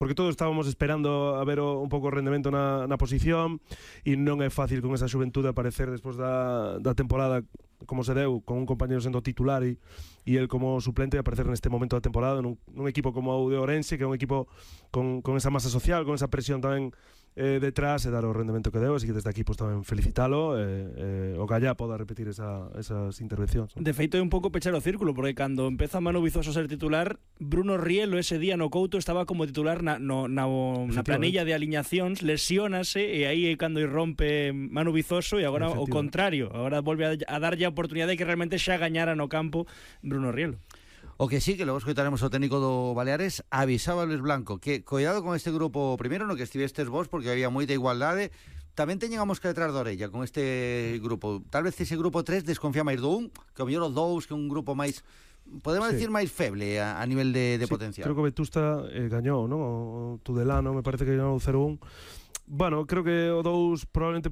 porque todos estábamos esperando a ver un pouco o rendemento na posición, e non é fácil con esa xuventude aparecer despois da temporada como se deu, con un compañero sendo titular e el como suplente, aparecer neste momento da temporada nun equipo como o de Ourense, que é un equipo con esa masa social, con esa presión tamén detrás, e dar o rendemento que deu. Así que desde aquí pues, tamén felicitalo, o Gallá poda repetir esas intervencións, ¿no? De feito é un pouco pechar o círculo, porque cando empeza Manu Vizoso a ser titular, Bruno Rielo ese día no Couto estaba como titular na planilla de aliñacións, lesiónase, e aí é cando irrompe Manu Vizoso, e agora o contrario, agora volve a darlle a oportunidade que realmente xa gañara no campo Bruno Rielo. O que sí, que logo escoitaremos o técnico do Baleares, avisaba Luis Blanco que cuidado con este grupo primeiro no que estivestes vos, porque había moita igualdade. Tamén teñen a mosca detrás da orella con este grupo. Tal vez ese grupo 3 desconfía máis do 1, que o mellor o 2, que é un grupo máis, podemos decir, máis feble a nivel de potencial. Creo que Vetusta gañou, non? O Tudelano me parece que gañou 0-1. Bueno, creo que o 2 probablemente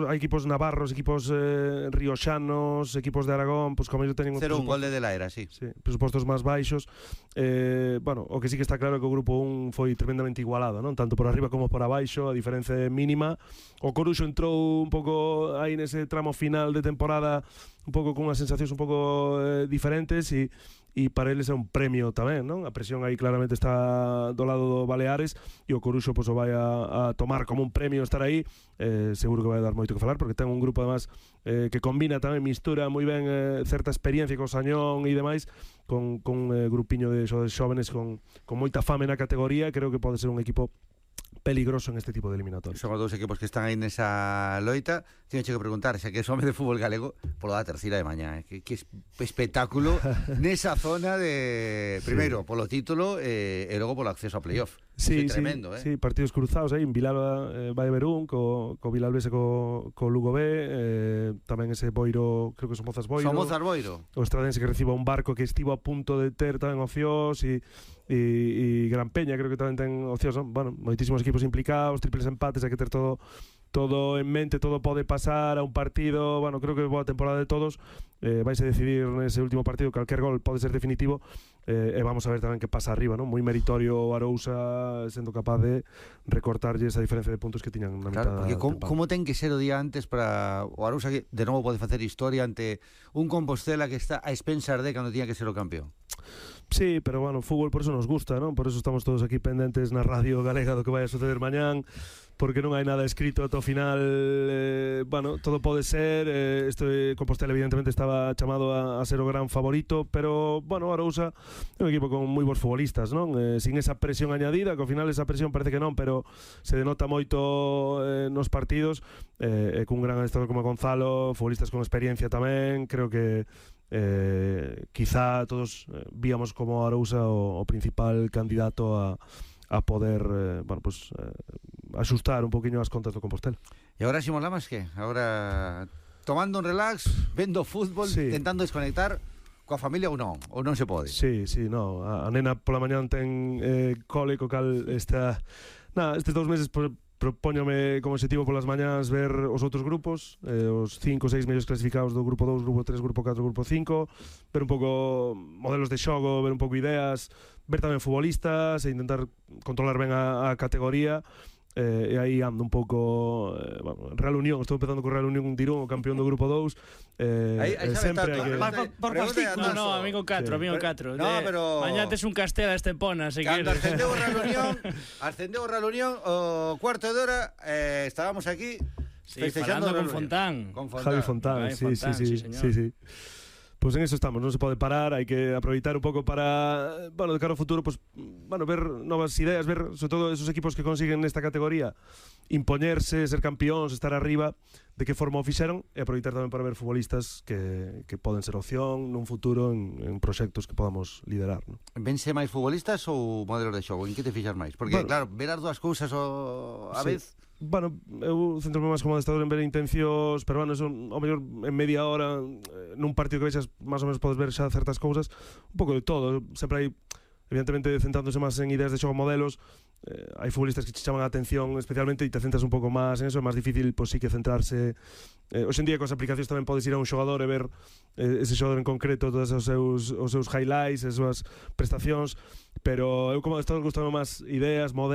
hai equipos navarros, equipos rioxanos, equipos de Aragón, pues como yo teñen 0-1 gol de la era, sí, presupostos máis baixos. Bueno, o que sí que está claro é que o grupo 1 foi tremendamente igualado, non? Tanto por arriba como por abaixo, a diferencia é mínima. O Coruxo entrou un pouco aí nese tramo final de temporada un pouco con unhas sensacións un pouco diferentes, e para eles é un premio tamén, non? A presión aí claramente está do lado do Baleares, e o Coruxo pues, o vai a tomar como un premio estar aí. Seguro que vai dar moito que falar, porque ten un grupo además que combina tamén, mistura moi ben certa experiencia co Sañón e demais, con grupiño de xóvenes con moita fame na categoría. Creo que pode ser un equipo peligroso en este tipo de eliminatorias. Son os dous equipos que están aí nesa loita. Teño que preguntar, xa que é home de fútbol galego, polo da terceira de mañá, que espectáculo nesa zona de, primeiro, polo título e logo polo acceso a playoff. Sí, tremendo, sí, partidos cruzados aí, en Vilalba vai haber un co Vilalbes e co Lugo B, tamén ese Boiro, creo que son Mozas Boiro. O Estradense que reciba un Barco que estivo a punto de ter tamén opcións, e Gran Peña creo que tamén ten opcións. Bueno, moitísimos equipos implicados, triples empates, hai que ter todo en mente, todo pode pasar a un partido. Bueno, creo que boa temporada de todos. Vais a decidir nese último partido, calquer gol pode ser definitivo, e vamos a ver tamén que pasa arriba, ¿no? Moi meritorio o Arousa sendo capaz de recortarlle esa diferencia de puntos que tiñan na mitad. Claro, porque como ten que ser o día antes para o Arousa, que de novo pode facer historia ante un Compostela que está a expensas de cando tiña que ser o campeón. Sí, pero bueno, o fútbol por eso nos gusta, ¿no? Por eso estamos todos aquí pendentes na radio galega do que vai a suceder mañán, porque non hai nada escrito ata o final. Bueno, todo pode ser. Este Compostela evidentemente estaba chamado a ser o gran favorito, pero bueno, Arousa é un equipo con moi bons futbolistas, non? Sin esa presión añadida, que ao final esa presión parece que non, pero se denota moito nos partidos, cun gran adestrador como Gonzalo, futbolistas con experiencia tamén. Creo que quizá todos víamos como Arousa o principal candidato a poder axustar un poquinho as contas do Compostela. E agora Ximón Lamas, que? Agora tomando un relax, vendo fútbol, sí, intentando desconectar coa familia ou non se pode? Sí, no, a nena pola mañán ten cole, co cal estes 2 meses propóñome como objetivo polas mañás ver os outros grupos, os 5 ou 6 mellores clasificados do grupo 2, grupo 3, grupo 4, grupo 5, ver un pouco modelos de xogo, ver un pouco ideas, ver tamén futbolistas e intentar controlar ben a categoría. E aí ando un pouco Real Unión, estou empezando co Real Unión Dirún, o campeón do grupo 2. Sempre hai que... Por fastidio. No, amigo 4, amigo 4. No, pero... Mañá tes un Castela Estepona, se cando queres. ascendeu o Real Unión, o cuarto de hora, estábamos aquí festejando con Fontán. Javi Fontán, sí. Pues en eso estamos, non se pode parar, hai que aproveitar un pouco para, bueno, de cara ao futuro, pues, bueno, ver novas ideas, ver sobre todo esos equipos que consiguen nesta categoría impoñerse, ser campións, estar arriba, de que forma o fixeron, e aproveitar tamén para ver futbolistas que poden ser opción nun futuro en proxectos que podamos liderar, ¿no? Vense máis futbolistas ou modelos de xogo? En que te fixas máis? Porque, bueno, claro, ver as dúas cousas a vez... Bueno, eu centro máis como adestrador en ver intencións, pero bueno, eso, ao mellor en media hora nun partido que vexas, máis ou menos podes ver xa certas cousas, un pouco de todo. Sempre hai evidentemente centrándose máis en ideas de xogo, modelos, hai futbolistas que che chaman a atención especialmente e te centras un pouco máis en eso, é máis difícil, pois sí que centrarse. Hoxe en día con as aplicacións tamén podes ir a un xogador e ver ese xogador en concreto, todos os seus highlights, as súas prestacións, pero eu como estou gustando máis ideas, modelos,